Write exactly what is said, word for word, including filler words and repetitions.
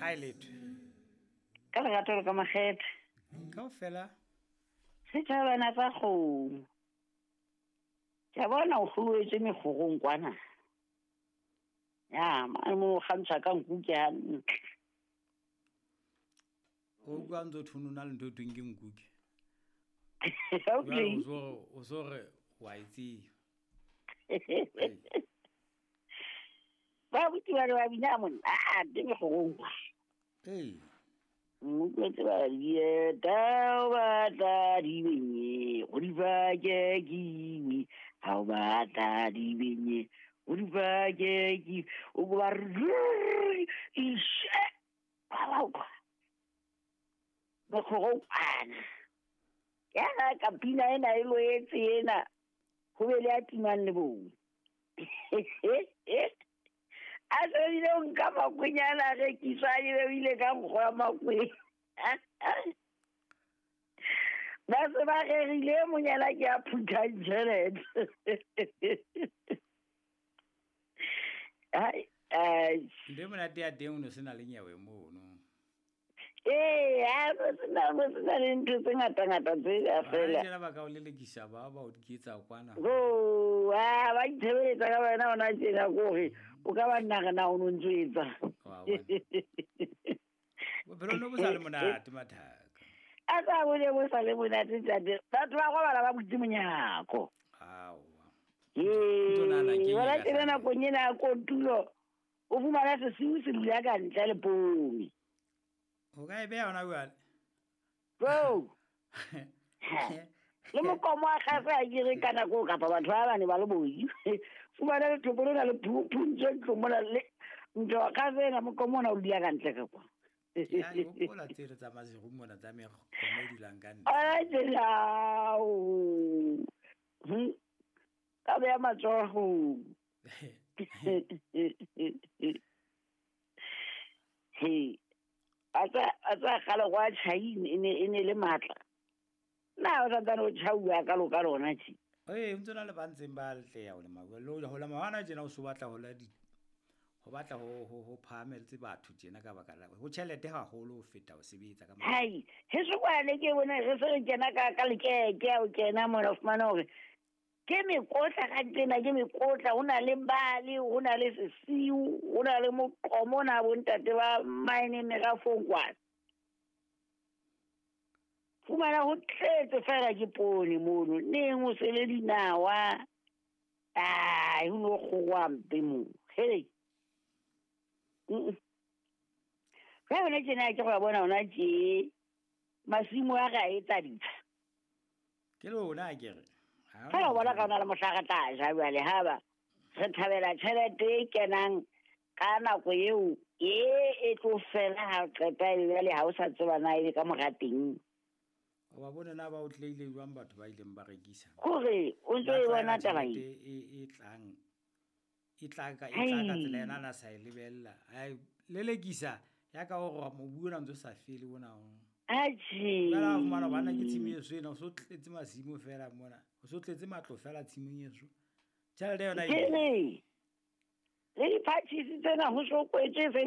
A letho. Ka lerato le ka makgethe. Kaofela. Setjhabana sa kgomo. Ke a bona o hloetse mekgorong kwana. Ya, mane mo kgantsha ka nku ke hantle. O utlwa ntse o thonona le ntho e thweng ke nku ke. Okay. O so o so re wa e tseba. Ba buti ba re ba bina monate mekgorong kwa. Ee. Utlwetse ba dieta o batla di benye, go di bake kiwi, ha o batla di benye, go di bake kiwi, o ko ba re ishe, ba ba utlwa. Mekgorong kwana. Ya ga ka pina ena e loetse ena, ho be le a timang le bong. A se ile o nka makwenya a rekiswa e be o ile ka nkgo ya makwenya. Ba se ba rerile monyana ke a phuthang tjhelete. Ai, ai. Ntho e monate ya teng o no sena le nyewe mono. Ee, ha go sena go sena le ntho tse ngata-ngata tse ka fela. Ba tjena ba ka o lelekisa ba ba o diketsa kwana. Ho, ha ba itshebeletsa ka wena hona tjena ko hore o ka ba nna re na o no ntso etsa. Wa bona. Bophelo no bo sa le monate mathaka. A sa bo ne bo sa le monate ntate. Batho ba robala ba butse monyako. Aowa. Ee, Ntho nahana ke eng wena e ka tjena hlahang? nakong ena ya kotulo, o fumana sesiu se dula ka ntle le poone. O ka e beha hona jwale? Bo. Le mokomo wa kgase ha ke re ka nako kapa batho ba bane ba le boi. Fumana lethopo lena le phu-, phuntswe ntlong mona le ntho ya kgase ena mokomo ona o dula ka ntle ka kwa. Ke a di hopola tsele tsa Maseru mona tsa mekomo e dulang ka ntle. Ana tsela, ao. Hm. Ka beha matsoho. He. A tsa, a tsa kgale gwa tjhaine, e ne, e ne le matla. Na o santsane o tjhauwa ka lo ka lona tje? Ee, ntse na le ba ntseng ba letleha ho lema. Le ho lema hona tjena o so batla ho la di, ho batla ho, ho, ho phahametse batho tjena ka baka la ho tjhelete haholo ho feta ho sebetsa ka matla. Hai, heso kwane ke bone re se re kena ka, ka lekeke ha o kena mona o fumana hore ke mekotla ka tjena, ke mekotla, ho na le bale, ho na le sesiu, ho na le moqomo, ho na bontate ba mine merafong kwana. Fumana ho tletse fela ke poone mono, neng o sele dinawa. Ai, ho no kgorwa mpe moo. Hey. Mm-mm. Ka yona tjena ke go bona hona tje, masimo a re a etsa ditsha. Ke lona akere. Ha Fela o hona bona ka ntho. hona le mohla re tla ja jwale, ha ba re thabela tjhelete e kenang ka nako eo e e tlo fela ha o qeta e jwale ha o sa tseba na e ka mora teng. O ba bone na ba o tleile jwang batho ba ileng ba rekisa. Hore o ntso Ba e tlwaela bona taba e. tjhelete e, e tlang, e tla ka, e tla ka tsela Hai. ena na sa e lebella. Ai, lelekisa ya ka hore mobu ona ntso sa fele ona o. Atjhe. Jwale ha o fumana bana ke tshimo eso ena, o so tletse masimo fela mona. O so tletse matlo fela tshimong eso. Tjhelete yona e Ke ile. re, le di-parties tsena ho so kwetse